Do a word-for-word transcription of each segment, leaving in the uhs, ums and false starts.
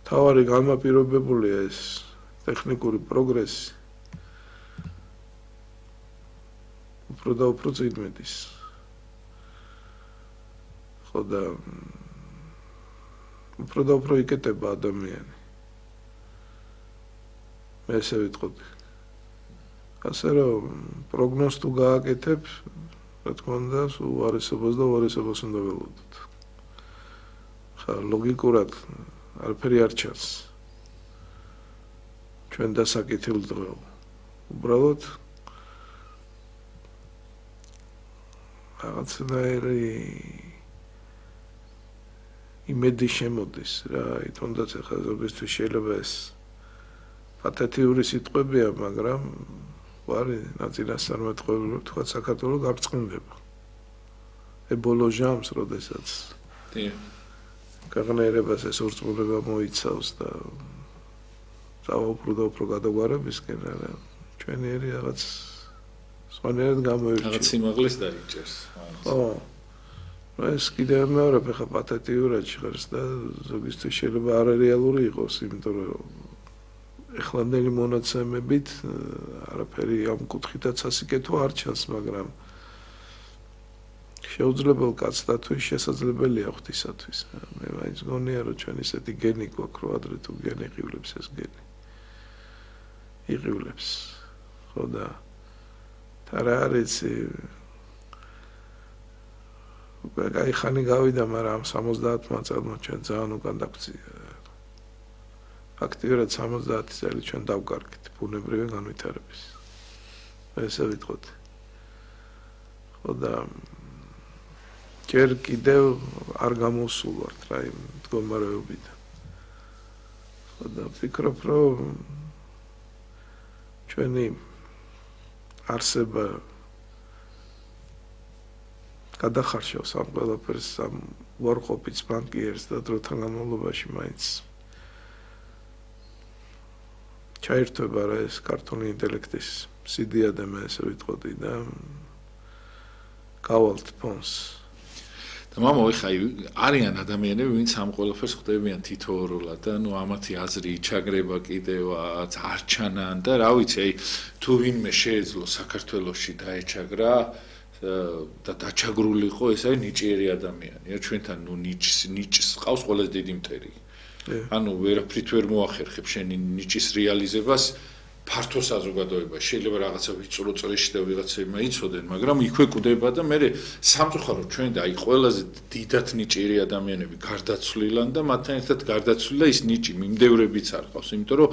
თავარი განმაპირობებულია ეს ტექნიკური პროგრესი. უფრო და უფრო წინ მედის. ხო და უფრო და უფრო იკეტება ადამიანი. მე ესე ვიტყოდი. ასე რომ პროგნოზს თუ გააკეთებ, რა თქმა უნდა, უარესობას და უარესობას უნდა ველოდოთ. ხა ლოგიკურად არაფერი არ ჩანს. ჩვენ დასაკეთილ დღეო. უბრალოდ რაღაცნაირი იმედი შემოდის რა, თუნდაც ახლა ზოგისთვის შეიძლება ეს პათეტიური სიტყვებია, მაგრამ ვარი ნაწილასწარმეტყველი თქვა საქართველოს გარწყნდება. ებოლო ჟამს, როდესაც კაღნერებას ეს ორწმუნება მოიცავს და წავა უფრო და უფრო გადაგვარებისკენ, რა ჩვენიერი რაღაც სხვანაირად გამოირჩევა. რაღაც სიმაღლეს დაიჭერს. ხო. ეს კიდევ მეორე ხა პათეტიურად ჟღერს და ზოგისთვის შეიძლება არარეალური იყოს, იმიტომ რომ ეხლანდელი მონაცემებით არაფერი ამ კუთხითაც ასიკეთო არ ჩანს, მაგრამ შეუძლებელ კაცთათვის შესაძლებელია ღვთისათვის. მე მაინც გონია რომ ჩვენ ისეთი გენი გვაქვს, რომ ადრე თუ გენი იყივლებს ეს გენი. იყივლებს. ხო და არა არის აი ხანი გავიდა, მაგრამ ამ სამოცდაათმა წელმა ჩვენ ძალიან უკან დაგვწია. ფაქტიურად სამოცდაათი წელი ჩვენ დავკარგეთ ბუნებრივი განვითარების. ესე ვიტყოდი. ხო და ჯერ კიდევ არ გამოსულვართ რა იმ მდგომარეობიდან. ხო და ვფიქრობ, რომ ჩვენი არსება გადახარშავს ამ ყველაფერს, ამ უარყოფით ბანკიერს და დროთან განმავლობაში მაინც ჩაერთვება რა ეს ქართული ინტელექტის სიდიადე, მე ესე ვიტყოდი და გავალთ ფონს. და მამა ხა არიან ადამიანები, ვინც ამ ყველაფერს ხვდებიან თითოეულად და ნუ ამათი აზრი იჩაგრება კიდევაც არ ჩანან და რა ვიცი, აი თუ ვინმე შეეძლო საქართველოში დაეჩაგრა და დაჩაგრულიყო, ეს არის ნიჭიერი ადამიანი. ჩვენთან ნუ ნიჭს ნიჭს ყავს ყველაზე დიდი მტერი. ანუ ვერაფრით ვერ მოახერხებ შენი ნიჭის რეალიზებას ფართო საზოგადოებაში. შეიძლება რაღაცა ვიწრო წრეში და ვიღაცებმა იცოდენ, მაგრამ იქვე კვდება და მე სამწუხაროდ ჩვენ და აი ყველაზე დიდად ნიჭიერი ადამიანები გარდაცვლილან და მათთან ერთად გარდაცვლილი და ის ნიჭი მიმდევრებიც არ ყავს, იმიტომ რომ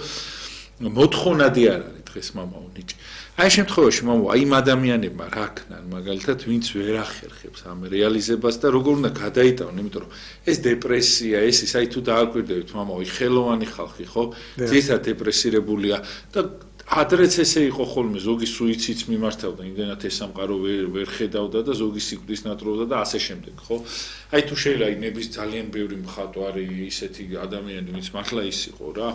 მოთხოვნადი არ არის დღეს მამაო ნიჭი. აი ამ შემთხვევაში მამაო აი იმ ადამიანებმა რა ქნან, მაგალითად, ვინც ვერ ახერხებს ამ რეალიზებას და როგორ უნდა გადაიტანონ, იმიტომ რომ ეს დეპრესია, ეს ის აი თუ დააკვირდებით მამაო, ხელოვანი ხალხი, ხო? ძირითადად დეპრესირებულია და ადრეც ესე იყო ხოლმე, ზოგი სუიციდს მიმართავდა, იმდენად ეს სამყარო ვერ ვერ ხედავდა და ზოგი სიკვდილს ნატრობდა და ასე შემდეგ, ხო? აი თუ შეიძლება აი ნების ძალიან ბევრი მხატვარი ისეთი ადამიანი, ვინც მართლა ის იყო რა.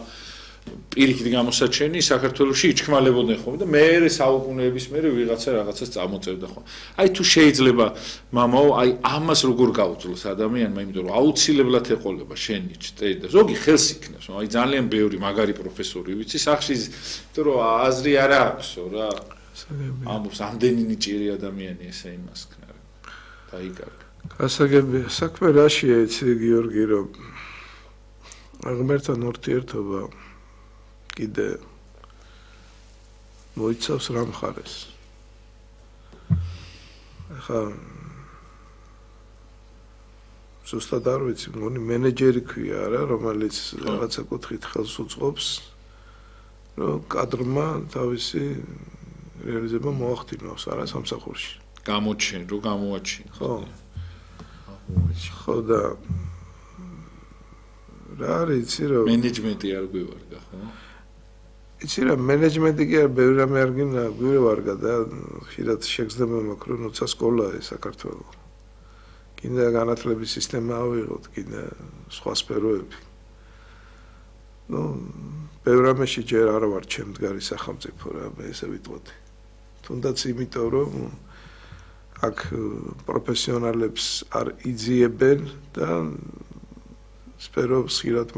პირიქით გამოსაჩენი საქართველოში იჩქმალებოდნენ ხოლმე და მე საუკუნეების მერე ვიღაცა რაღაცას წამოწევდა ხოლმე. აი თუ შეიძლება მამაო, აი ამას როგორ გაუძლოს ადამიანმა, იმიტომ რომ აუცილებლად ეყოლება შენი ჭტერი და ზოგი ხელს იქნევს. აი ძალიან ბევრი მაგარი პროფესორი ვიცი სახში, იმიტომ რომ აზრი არ აქვსო რა. ამბობს ამდენი ნიჭიერი ადამიანი ესე იმას ქნა. დაიკარგა. გასაგებია, საქმე რაშია იცი გიორგი, რომ ღმერთთან ურთიერთობა კიდე მოიცავს რა მხარეს. ახლა ზუსტად არ ვიცი, მგონი მენეჯერი ქვია რა, რომელიც რაღაცა კუთხით ხელს უწყობს, რომ კადრმა თავისი რეალიზება მოახდინოს არა სამსახურში. გამოჩენ, რომ გამოაჩინოს. ხო. ხო და რა არის იცი რომ მენეჯმენტი არ გვივარგა, ხო? იცი რა მენეჯმენტი კი არ ბევრი რამე არ გინდა გვივარგა და ხშირად შეგრძნება მაქვს რომ როცა სკოლაა საქართველოს. კიდე განათლების სისტემა ავიღოთ, კიდე სხვა სფეროები. ნუ ბევრი რამეში ჯერ არ ვარ ჩემდგარი სახელმწიფო რა, მე ესე ვიტყოდი. თუნდაც იმიტომ რომ აქ პროფესიონალებს არ იძიებენ და სფეროს ხშირად